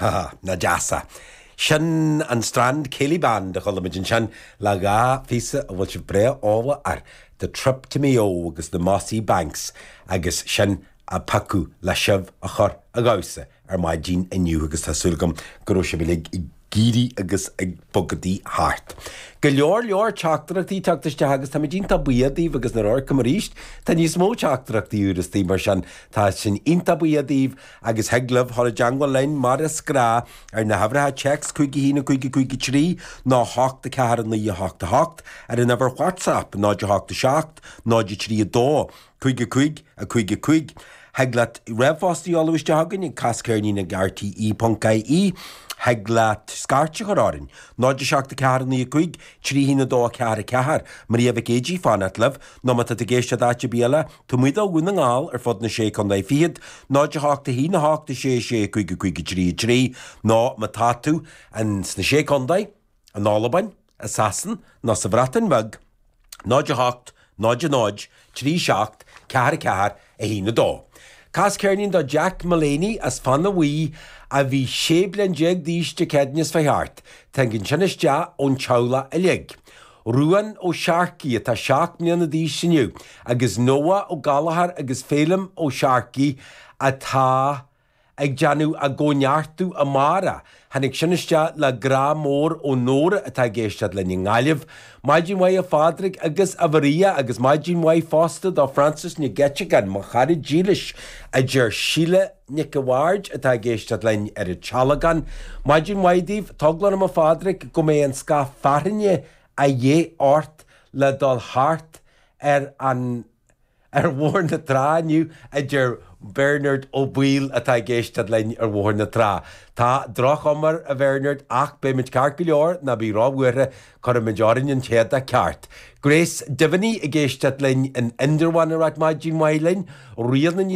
Ha, nach deas é. Sin an Strand Céilí Band a chuala muid ansin le dha phíosa a bhfuil sibh breá eolach air, The Trip to Mayo agus The Mossy Banks agus sin a piocadh le sibh a chur a dhamhsa ar maidin inniu agus tá súil agam go raibh sibh uilig ag éirí agus ag bogadaí thart. Go leor leor teachtaireachtaí ag teacht isteach agus táimid iontach buíoch daoibh agus nuair a amharcaim arís tá níos mó teachtaireachtaí úr istigh mar sin tá sinn iontach buíoch daoibh agus thig libh dhul i dteangmháil linn mar is gnáth ar na huimhreacha téacs 5 1 5 5 3 nó 8 4 9 8 8 ar an uimhir WhatsApp 0 8 7 0 3 2 5 5 5 5. Thig leat ríomhphost a sheoladh isteach chugainn ag casceirnín ag rte.ie. Thig leat scairt a chur orainn, 0 7 4 9 5 3 1 2 4 4. Maria Mhic Éadaigh ag fanacht libh, nó má tá tú ag éisteacht áit ar bith eile, taobh amuigh de Dhún na nGall ar fud na Sé Contae Fichead, 0 8 1 8 6 6 5 5 3 3, nó má tá tú in sna Sé Contae, in Albain, i Sasain nó sa Bhreatain Bheag, 0 8 0 0 3 7 4 4 1 2. Cas ceirnín do Jack Mullaney as Fana Bhuí a bhí 16 bliain d'aois Dé Céadaoine seo chuaigh thart. Tagann sin isteach ón teaghlach uilig. Ruán Ó Searcaigh atá 7 mbliana d'aois inniu agus Noah Ó Gallchóir agus Féilim Ó Searcaigh atá ag déanamh a gcóineartú amárach. Tháinig sin isteach le grá mór ó Nóra atá ag éisteacht linn i nGaillimh. Maidin mhaith a Phádraig agus a Mharia agus maidin mhaith fosta do Frances Nic Eiteagáin, mo chara dílis, a deir Síle Nic a' Bhaird atá ag éisteacht linn ar an Tealgán. Maidin mhaith daoibh, Tá eagla orm a Phádraig go mbeidh an scáth fearthainne a dhíth ort le dul thart ar an Ar Bhóthar na Trá inniu, a deir Bernard Ó Baoill atá ag éisteacht linn ar Bhóthar na Trá. Tá droch-chuma air, a Bhernard, ach beimid ceart go leor, ná bí róbhuartha, cuirfimid orainn an t-éadach ceart. Grace Devaney ag éisteacht linn in Indreabhán ag ráit maidin mhaith linn. Ríona Ní.